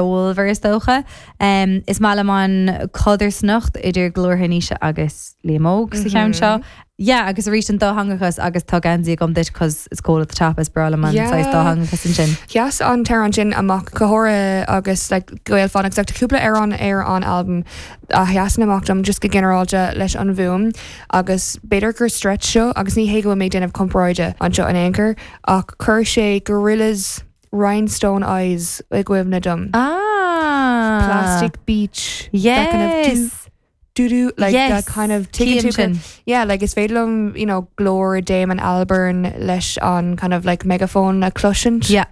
Ceolmhar is dócha. Is maith liom an chodarsnacht idir glórtha Naoise agus Liam Óg sa cheann seo. Yeah, agus arís an dátheangachas agus tá geansaí agam duit 'cause it's cold at the top, is breá liom an saghas dátheangachas ansin. Sheas an t-amhrán sin amach go háirithe agus like Gael Phonics like tá cúpla amhrán ar an albam a sheasann amach dom just go ginearálta leis an bhfuaim agus b'fhéidir gur stretch seo agus ní hé go bhfuil mé ag déanamh comparáide anseo in aon chor ach chuir sé Gorillaz Rhinestone Eyes i gcuimhne dom. Ah! Plastic Beach. That kind of do, Yes! do do like Yes! that kind of tuigeann Cím tú sin. Yeah, like is féidir liom, you know, glór Damon Albarn leis an kind of like megaphone a chloisint. Yeah.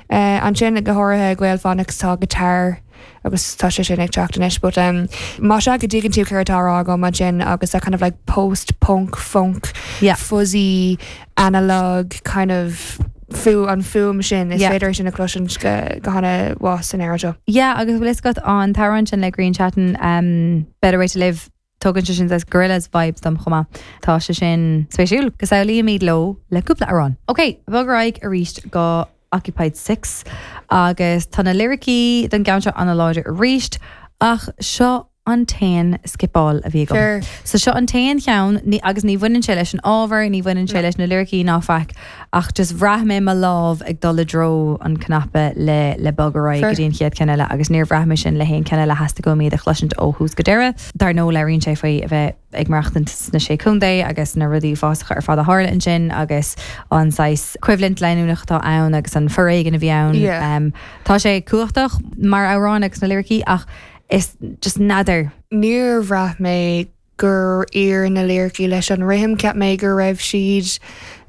Uh, ansin go háirithe Gael Phonics tá guitar agus tá sé sin ag teacht anois but um, más ea go dtuigeann tú céard atá á rá agam ansin agus that kind of like post-punk funk Yeah. fuzzy analog kind of fu an fuaim sin is Yeah. féidir sin a chloisint go go hana-mhaith san amhrán seo. Yeah, agus bhfuil fhios agat an t-amhrán sin le Grian Chatten, um, Better Way to Live, tugann sé sin saghas Gorillaz vibes dom chomh maith. Tá sé sin spéisiúil. Go samhlaímid leo le cúpla amhrán. Ok, bog ar aghaidh arís go Occupied 6 agus tá na liricí don gceann seo ana-láidir arís ach seo an t-aon scipeáil a bhí agam. Fair. So seo an t-aon cheann, ní, agus ní bhaineann sé leis an ábhar, ní bhaineann sé leis na liricí ná faic, ach just bhraith mé mo lámh ag dul i dtreo an cnaipe le le bog ar aghaidh Fair. go dtí an chéad ceann eile agus níor bhraith mé sin le haon ceann eile theastaigh uaim iad a chloisint ó thús go deireadh. Dar ndóigh labhraíonn sé faoi a bheith ag maireachtaint sna Sé Chontae agus na rudaí uafásacha ar fad a tharla ansin agus an saghas coimhlint leanúnach atá ann agus an foréigean a bhí ann. Yeah. Tá sé cumhachtach mar amhrán agus na liricí ach is just n'fheadar. Níor bhraith mé gur oir na liricí leis an rithim, cheap mé go raibh siad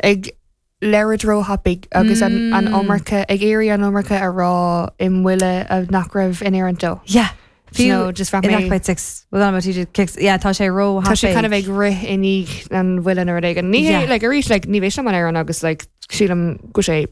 ag labhairt róthapaidh agus an an iomarca, ag iarraidh an iomarca a rá i mbuille a nach raibh in oiriúint dó. Yeah. Fiú no, just bhraith in mé. Occupied 6, well I'm a teacher kicks, yeah, tá sé róthapaidh. Tá sé kind of ag rith i ndiaidh an bhuille nó rud éigin. Ní hé, Yeah. like, arís, like, ní mheasaim an amhrán agus, like, sílim go sé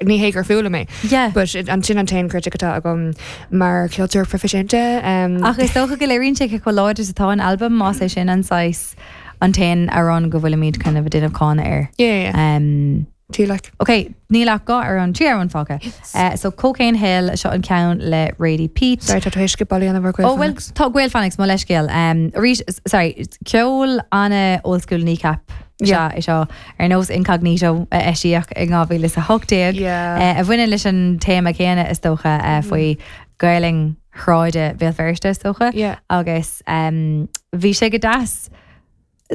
Ní hé gur fuath liom é. Yeah. But an sin an t-aon critic atá agam mar cheoltóir proifisiúnta. Ach is dócha go léiríonn sé cé chomh láidir is atá an albam más é sin an saghas an t-aon amhrán go bhfuilimid kind of ag déanamh cáineadh air. Yeah, yeah. Um, Tí like. Ok, níl ach dhá amhrán, trí amhrán fágtha. Uh, so Cocaine Hill, seo an ceann le Radie Peat. Sorry, tá tú théis scipeáil a dhéanamh ar Gael Oh, well, Phonics. tá Gael Phonics, mo leithscéal. Um, arís, sorry, ceol ana old school Kneecap. Yeah. Sea, é seo ar nós Incognito a eisíodh in 2018, Yeah. a bhaineann leis an téama céanna is dócha, faoi Ghaelainn shráide Bhéal Feirste is dócha. Yeah. Agus bhí sé go deas.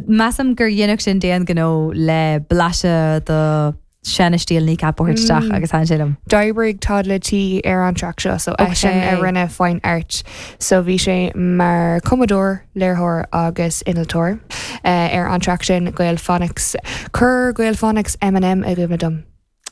Measaim gur dhéanfadh sin d'aon ghnó le blaiseadh de seana-stíl Kneecap a thabhairt isteach agus thaitin sé liom. D'oibrigh Toddla T ar an traic seo, so eisean a Ok. rinne Fine Art. So bhí sé mar cumadóir, léiritheoir agus innealtóir ar an traic sin, Gael Phonics. Chuir Gael Phonics Eminem i gcuimhne dom.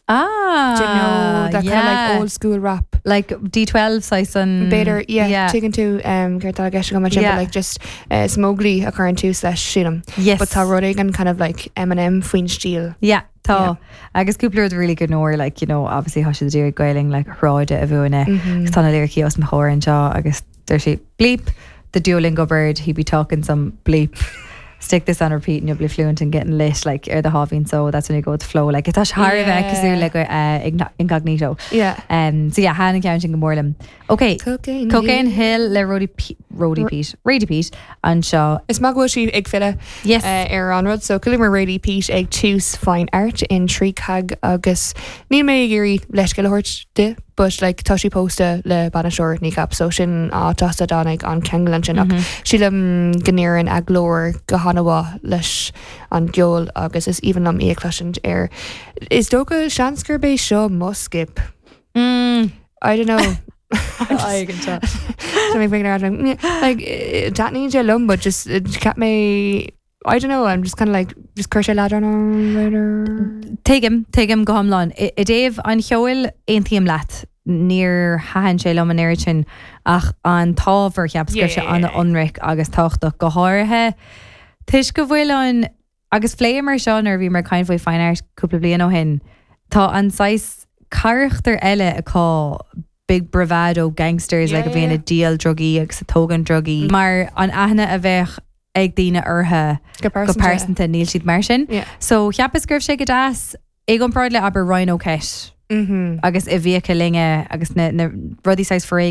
Ah! Do you know that kind of like yeah. old school rap? Like D12 saghas an... B'fhéidir, yeah, yeah. tuigeann tú céard atá i gceist agam ansin, Yeah. but like just is Mowgli a chuireann tús leis, sílim. Yes. But tá rud éigin kind of like Eminem faoin stíl. Yeah, tá. Agus cúpla rud really good nóir, like, you know, obviously tá siad ag iarraidh Gaelainn like shráide a mhúineadh. Agus tá na liricí os mo chomhair anseo agus deir sí, bleep, the Duolingo bird, he be talking some bleep. Stick this on repeat and you'll be fluent and getting lit, like, ar do sháimhín só, that's when you go with the flow. Like, tá sé thar a bheith cosúil le uh, Incognito. Yeah. Um, so yeah, thaitin an ceann sin go mór liom. Ok, Cocaine Cocaine Hill le Roddy P Roddy Pete, Radie Peat anseo. Is maith go bhfuil sí ag filleadh Yes. ar an rud so chualamar Radie Peat ag tús Fine Art in 3CAG agus níl mé ag iarraidh leithscéal a thabhairt di but like tá sí pósta le bainisteoir Kneecap so sin áit as a dtáinig an ceangal ansin ach sílim go n-oireann a glór go han-mhaith leis an gceol agus is aoibhinn liom í a chloisint ar is dócha seans gurb é seo mo skip. Mm. I don't know. Tá mé ag Like taitníonn sé liom, but just cheap mé I don't know, I'm just kind of like just chuir sé leadrán orm. Tuigim, tuigim go hiomlán. I dtaobh an cheoil, aontaím leat. Níor thaitin sé liom an oiread sin ach an t-ábhar, cheapas go raibh sé an-ionraic agus tábhachtach, go háirithe toisc go bhfuil an Agus phléamar seo nuair a bhíomar ag caint faoi Fine Art cúpla bliain ó shin, tá an saghas carachtar eile acu, big bravado gangsters like a bhíonn ag díol drugaí agus ag tógaint drugaí, mar an aithne a bheadh ag daoine orthu Go go pearsanta, níl siad mar sin. So cheapas go raibh sé go deas i gcomparáid le abair Ryan O'Kett agus i bhFiacha Loinge agus na rudaí saghas foréigin.